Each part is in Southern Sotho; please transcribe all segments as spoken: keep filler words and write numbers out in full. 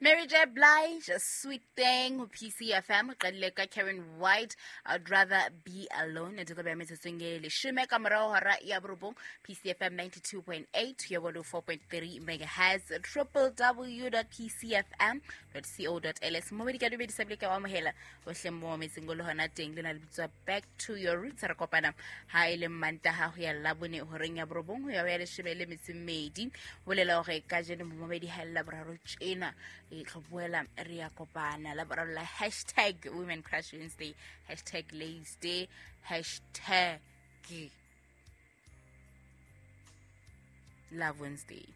Mary J. Blige, A Sweet Thing, ho P C F M, qadile ka Karen White, I'd Rather Be Alone. E tlo be metsotsong e leshome ka morao hora ya borobong, P C F M ninety-two point eight, ya one oh four point three megahertz, triple w dot p c f m dot co dot l s. Mo di ka dumedisa bile ka wa amohela bohle mo metseng go le hona teng le na le bitswa Back to Your Roots. Re kopana ha e le Mantaha ho ya Labone horeng ya borobong ho ya ho ya leshome le metso e mmedi. Bolela hore kajeno momamedi ha le Laboraro tjena e tlo boela re ya kopana Laboraro la hashtag Women Crush Wednesday, hashtag Ladies Day, hashtag Love Wednesday.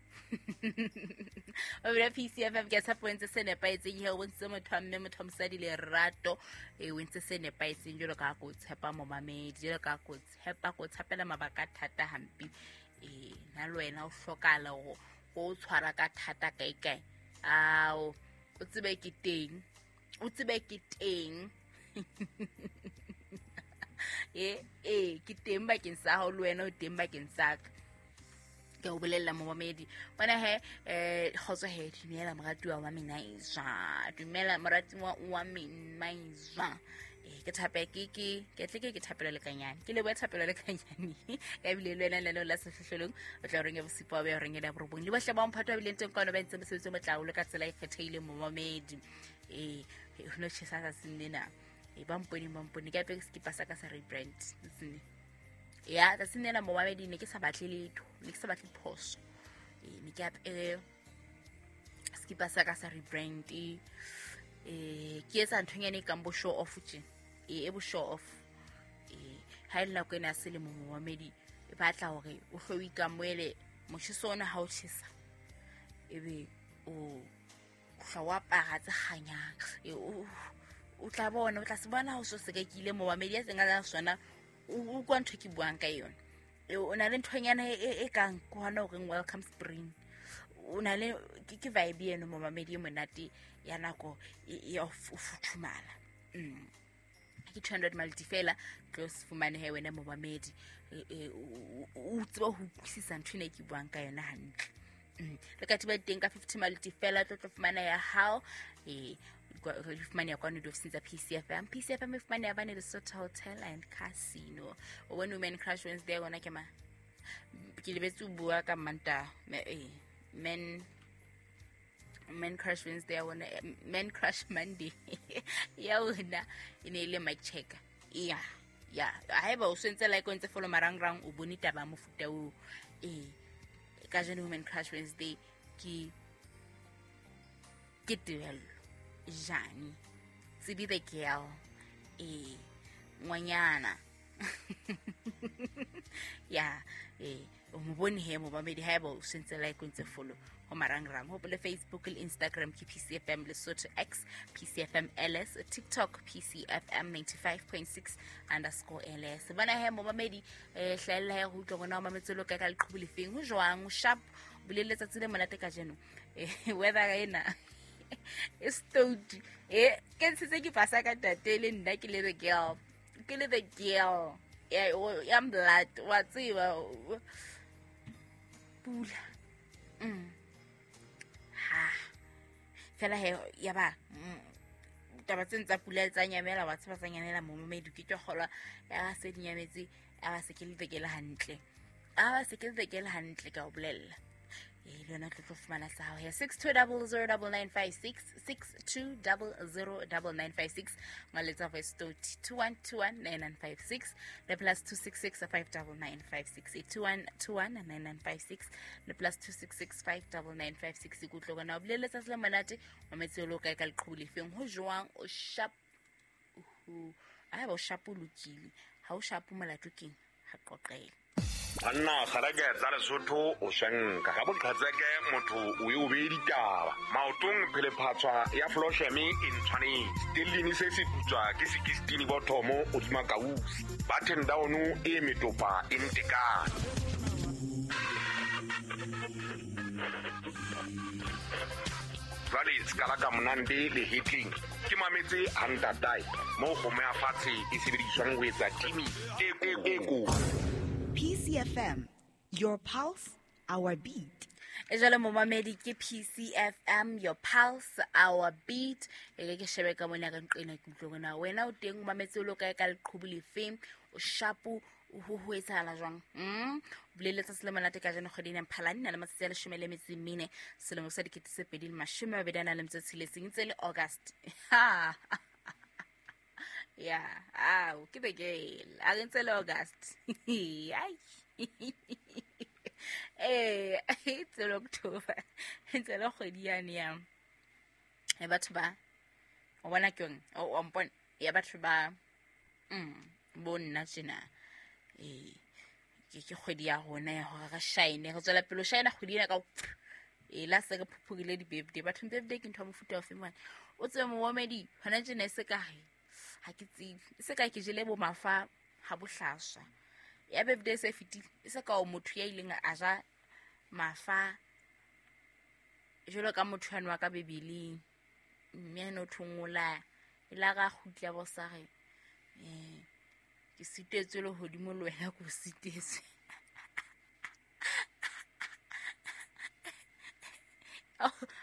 O bile P C F M ke tshepo ntse se nepahetseng he o bontshitse motho wa mme, motho wa mosadi lerato, e o entse se nepahetseng jwalo ka ko tshepa momamedi, jwalo ka ko tshepa, ko tshepela mabaka a thata hampe. E na le wena o hlokahala hore o tshwara ka thata kae kae. Ao, o tsebe ke teng, o tsebe ke teng. E, e, ke teng bakeng sa hao le wena o teng bakeng sa ka. Ke o bolella momamedi. Bona he, eh, kgotso he, dumela moratuwa wa Minaizwa. Dumela moratuwa wa Minaizwa. Eh, ke thape ke ke ke tle ke ke thapelo lekanyane. Ke lebohe thapelo lekanyane. Ya bile le wena le la sehlohlolong, o tla reng ya bosipo ba reng ya borobong. Le bohle ba mphato ba bileng teng kwano ba entse mosebetsi o motle haholo ka tsela e kgethehileng momamedi. Eh, ho no tjhesa tsatsing lena. Eh, ba mpone, ba mpone. Ke apere sekipa sa ka sa rebrand. Tsatsing. Ya, tsatsing lena momamedi ne ke sa batle letho, ne ke sa batle phoso. Eh, ne ke apere sekipa sa ka sa rebrand. Eh, ke etsa nthonyana e kang bo show off tje. E, e bo show off. Eh, ha e le nako ena ya selemo momamedi, e batla hore o hlo o ikamohele motjheso ona ha o tjhesa. Ebe o hla o apara tse kganyang. E, o, o tla bona, o tla se bona ha o so se ka kile momamedi ya seng a sona, o utlwa ntho e ke buang ka yona. E, o na le nthonyana e, e, e kang ke hona ho reng welcome spring. O na le ke, ke vibe eno momamedi e monate ya nako e, ya ho futhumala. Mm. Ke two hundred malti fela, tlo se fumane he wena momamedi. E, e, o, o, o tseba ho utlwisisa ntho ena e ke buang ka yona hantle. Mm. Le ka thiba teng ka fifty malti fela, tlo tlo fumana ya hao. E, re fumane ya kwano diofising tsa P C F M. P C F M e fumane ya bane Lesotho Hotel and Casino. O bone Women Crush Wednesday yona ke ma? Ke lebetse ho bua ka Mantaha. Me, eh, men, Men Crush Wednesday ya bona, eh, Men Crush Monday. Ya ona e ne e le mic checker. Ya, ya. Haeba o sentse like o ntse follow marangrang, o bone taba ya mofuta oo. Eh, kajeno Women Crush Wednesday ke, ke Tebello Jane, Tsibi the girl, eh, ngwanyana. Ya, eh, o mo bone he momamedi haeba o sentse like o ntse follow ho marangrang. Hopole Facebook le Instagram ke P C F M Lesotho X, P C F M L S, TikTok P C F M ninety-five point six underscore L S. Bona he momamedi, eh, hlahella he ho utlwa bona o mametse lo kae ka leqhubu lefeng, ho jwang, o sharp, o bile letsatsi le monate kajeno. Eh, weather ena e stout. Eh, ke ntshitse ke pasa ka tate le nna ke le the girl. Ke le the girl. Ya, o, ya blood, wa tseba. Pula. Mm. Ha. Fela he ya ba, mm, taba tse ntsa pula tsa nyamela, wa tseba tsa nyamela momamedi ke tlo kgolwa ya se di nyametse, a ba se ke le tekele hantle. A ba se ke le tekele hantle ka o bolella. E le yona tlo tlo fumana sa hao ya six two double zero double nine five six, six two double zero double nine five six, ngwaletsa voice note two one two one nine nine five six, le plus two six six five double nine five six, eight two one two one nine nine five six, le plus two six six five double nine five six. Ke utlwe gona o bolele letsatsi le monate, wa metse o lo kae ka leqhubu lefeng, ho jwang, o sharp, uhu, ha ba o sharp o lokile, ha o sharp molato keng, ha qoqele. Banna kgareke tsa Lesotho o swenka ga boqhetseke motho o e o beye ditaba maotong phelephatswa ya flosheme e ntshwanetse tellini se se putswa ke sixteen bothomo hodima kausi button down e metopa e ntekane. Jwale sekala ka monande le hitling ke mametse ha ntatae mo kgomo ya fatshe e sebediswang ho etsa timi e e ko. P C F M, your pulse, our beat. E jwale momamedi ke P C F M, your pulse, our beat. E ke ke shebe ka mona ka nqena ke utlwe hore na wena o teng o mametse o lo kae ka leqhubu lefeng, o shapo, ho ho etsahala jwang. Mm boleletse se le monate ka jeno kgwedi ena Mphalane na le matsatsi a leshome le metso e mene selemo sa dikete tse pedi le mashome a mabedi a nang le metso e tsheletseng, ntse le August. Ha. Yeah, ah, ke beke. A re ntse le August. Ai. Eh, ntse le October. Ntse le kgwedi yane ya. E batho ba o bona ke yone, o mpone ya batho ba mm bo nna tjena. Eh, ke ke kgwedi ya rona ya hore re shine, re tswela pele ho shine kgwedi ena ka e la se re phuphurile di-birthday. Bathong birthday ke ntho ya mofuta ofe mane? O tsebe momamedi hona tjena e se ka re ha ke tsebe, e se ka ke jele bo mafa ha bohlaswa. Ya birthday se fetile, e se ka o motho ya ileng a ja mafa jwalo ka motho ya nwa ka Bibeleng, mme a no thongola e la ra kgutla bo sa re eh ke sitetswe le hodimo le wena ke o sitetswe.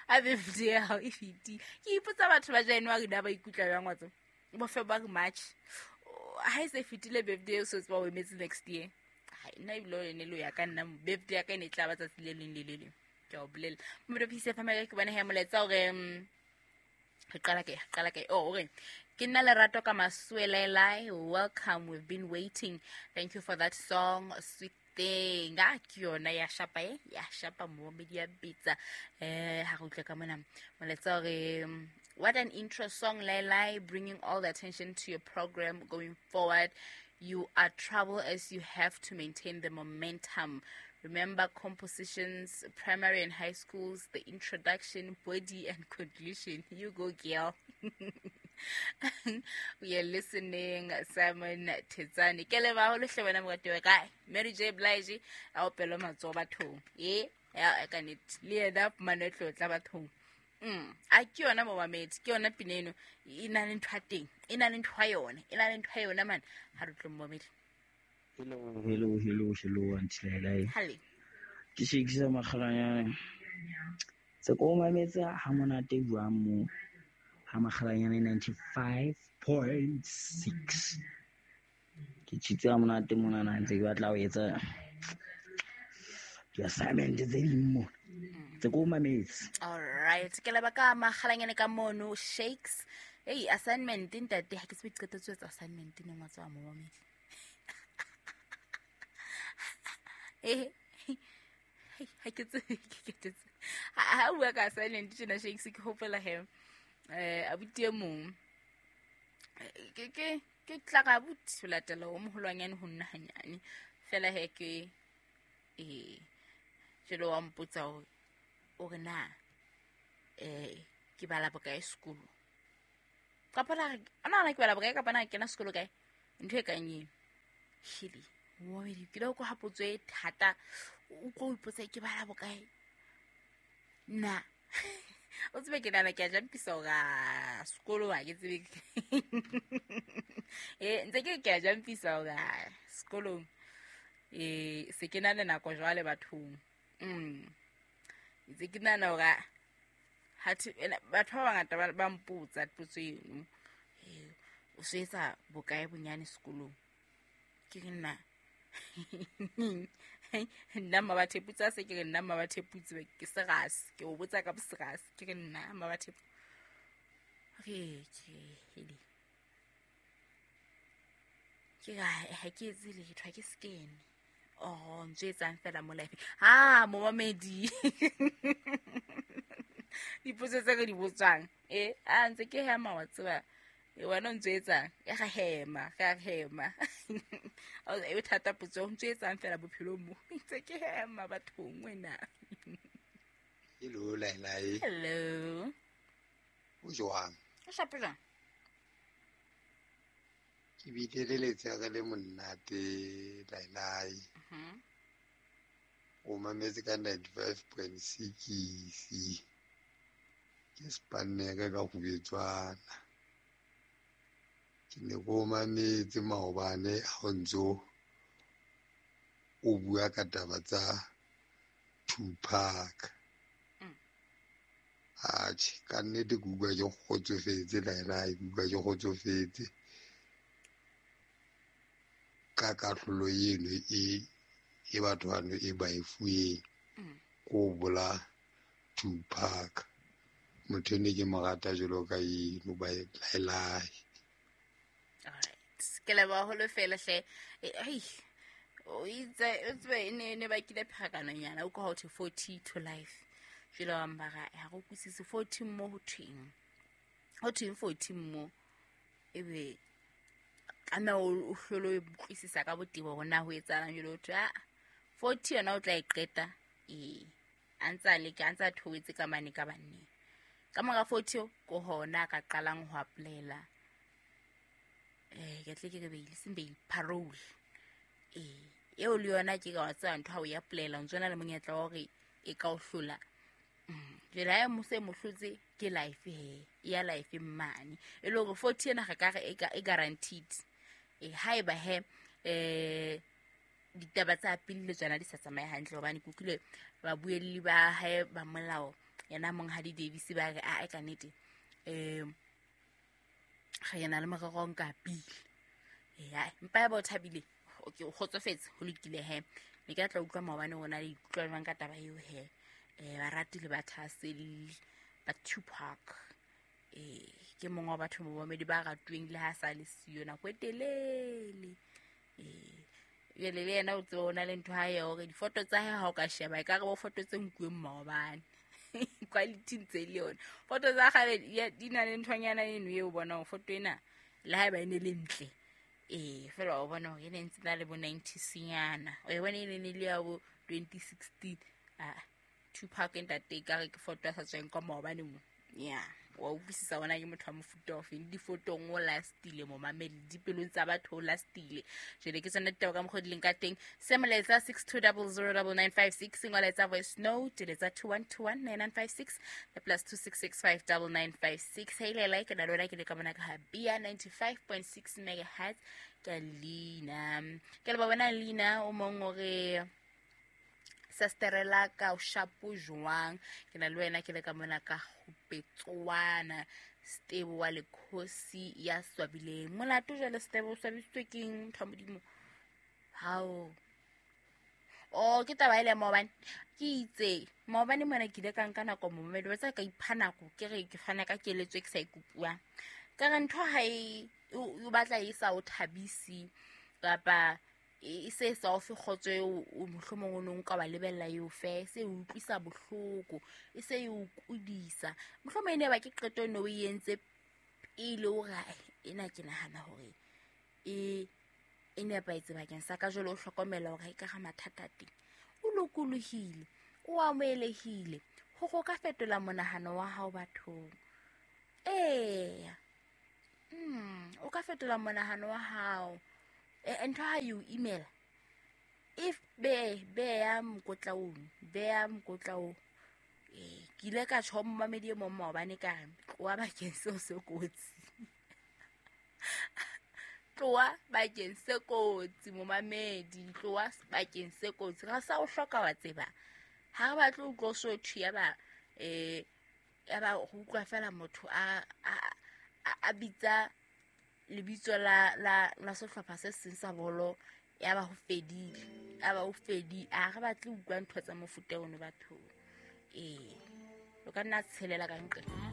A birthday ya hao e fetile. Ke ipotsa batho ba January na ba ikutlwa jwang wa tseba? Bo February, March. Ha e se fetile birthday o so tseba o emetse next year. Ha nna ebile o ne le ya ka nna birthday ya ka e ne e tla ba tsatsi le leng le le leng. Ke a o bolella. Mme P C F M ke bona he molaetsa hore re qala kae, qala kae. Oh, hore ke nna Lerato ka Masuelelai. Welcome, we've been waiting. Thank you for that song, sweet thing. Ah, ke yona ya shapa e, ya shapa momedi ya bitsa. Eh, ha re utlwe ka mona. Molaetsa hore what an intro song, Lailai, bringing all the attention to your program going forward. You are trouble as you have to maintain the momentum. Remember compositions, primary and high schools, the introduction, body, and conclusion. You go, girl. We are listening, Simon Tezani. Ke leba holo hle wena morati wa kae? Mary J. Blige, a opelo matsoho bathong. Eh, ya ka nnete. Le yena fumane tlotla bathong. Mm, a ke yona momamedi, ke yona pina eno e na le ntho ya teng, e na le ntho ya yona, e na le ntho ya yona man. Ha re tle momamedi. Hello, hello, hello, hello, Auntie Lailai. Halle. Ke shekisa makgalanyane. Se ko mametse ha monate jwang mo ha makgalanyane ninety-five point six. Ke tshitse ha monate mona na ntse ke batla ho etsa di-assignment tse ding mo. Tse ko mametse. All right. Ke leba ka makgalanyane ka mono shakes. Hey, assignment ntate ha ke se qetetse etsa assignment ne ngwa tswa mo mamedi. Eh, ha ke tsebe ke ketetse. Ha bua ka assignment tjena shakes ke hopola he. Eh, abuti e mong. Ke ke ke tla ka abuti ho latela o moholwanyane ho nna hanyane. Fela he ke eh jelo wa mpotsa hore o re na eh ke bala bokae sekolo. Kapa la ana na ke bala bokae kapa na kena sekolo kae? Ntho e kang eo. Hili. Momedi ke lo go hapotso e thata o go ipotsa ke bala bokae. Na o tsebe ke nana ke a jampisa hore sekolo ha ke tsebe. Eh ntse ke ke a jampisa hore sekolong eh se ke na le nako jwale bathong. Mm. Ntse ke nana hore ha batho ba bangata ba mpotsa potso eno. Eh o se etsa bokae bonyane sekolong? Ke re nna nna Mmabatheputse se ke re nna Mmabatheputse ke serase ke o botsa ka serase ke re nna Mmabatheputse re ke hele ke ga ha ke etse letho ha ke skene oh ntse etsang fela mo life ha momamedi dipotso tse re di botswang eh a ntse ke hema wa tseba e wena o ntse etsang e ga hema ga hema o e thata potso o ntse etsang fela bophelong mo ntse ke hema bathong wena. Hello Lailai. Hello. O jwang? O shapo jwang? Ke bile le letsatsi le monate Lailai. Mhm. O mametse ka ninety-five point six. Ke spanne ka ka go betswana. Ke ne ko mametse maobane ha o ntso o bua ka taba tsa Tupac. Atjhe, ka nnete ke utlwa ke kgotsofetse laelai, ke utlwa ke kgotsofetse ka kahlolo eno e e batho bano e ba e fuweng ko bola Tupac. Motho ene ke mo rata jwalo ka eno ba laelai. Alright. Ke leboha haholo fela hle. Ai. O itse o tsebe e ne ne bakile pherekanonyana o ka ho thwe forty to life. Jwale wa mbara ha re utlwisise forty mo ho thweng. Ho thweng forty mo ebe kana o hlolo o utlwisisa ka botebo hore na ho etsahalang jwale ho thwe a forty yona o tla e qeta ee a ntsa leka a ntsa theohetse ka mane ka banneng. Ka mora forty ko hona ka qalang ho apply-ela eh ke tle ke re bail seng bail parole. Eh eo le yona ke ka wa tseba ntho ha o ya apply-ela o ntso na le monyetla wa hore e ka o hlola. Jwale ha mo se mo hlotse ke life he ya life mane e le hore forty ena re ka re e guaranteed. E haeba he eh ditaba tsa pele le tsona di sa tsamaye hantle hobane ke utlwile babuelli ba hae ba molao yena Monghadi Davis ba re a ka nnete eh re yena le morero nka pele. Ya mpa ya bo thabile okay o kgotsofetse ho lokile he ne ke tla utlwa maobane ona le ikutlwa jwang ka taba eo he eh barati le bathahaselli ba Tupac eh ke mongwe wa batho ba mamedi ba ratweng le ha sa le siyo nako e telele eh jwale le yena o tseba o na le ntho ha ya hore difoto tsa hae ha o ka sheba e ka re bo foto tse nkuweng maobane quality ntse le yona foto tsa kgale di na le nthonyana eno eo bona hore foto ena le haeba e ne le ntle eh fela o bona hore e ne ntse na le bo ninety senyana o e bona e ne le ya bo twenty sixteen ah Tupac ntate ka re ke foto ya sa tsweng kwa maobane mo ya wa utlwisisa ona ke motho wa mofuta ofe difotong o lastile mo mamedi dipelong tsa batho o lastile jwale ke tsona ditaba ka mokgwa di leng ka teng se molaetsa six two zero zero nine nine five six ngoletsa voice note letsa two one two one nine nine five six le plus two six six five nine nine five six hey le like na lona ke le ka mona ka Bia ninety-five point six megahertz ka Lina ke le ba bona Lina o mong o re Sasterela ka o shapo jwang ke na le wena ke le ka mona ka Gopetswana Stebo wa lekhosi ya swabileng molato jwale Stebo o swabisitswe keng ntho modimo hao o ke taba ile maobane ke itse maobane mona ke ile ka nka nako momedi wa tsa ka ipha nako ke re ke fana ka keletso e ke sa ikupuang ka re ntho ha e o batla e sa o thabisi kapa e se sa o fe kgotso eo o mohlomong o no nka wa lebella eo fe se o utlwisa bohloko e se e o kudisa mohlomong e ne ba ke qeto no o entse pele o ra ena ke nahana hore e e nepahetse bakeng sa ka jwale o hlokomela hore ha e ka ga mathata teng o lokolohile o amohelehile hore o ka fetola monahano wa hao bathong ee mm o ka fetola monahano wa hao e ntho ha you email if be be ya mokotla o be ya mokotla o eh ke ile ka tjho mmamedi e mong maobane ka re tloha bakeng seo se kotsi tloha bakeng se kotsi momamedi tloha bakeng se kotsi ga sa o hloka wa tseba ha re batle o tlo so thwi ya ba eh ya ba go utlwa fela motho a a bitsa lebitso la la la sehlopha se seng sa bolo ya ba ho fedile ya ba ho fedi a re batle utlwa ntho tsa mofuta ono batho ee lo ka nna tshelela ka ntle.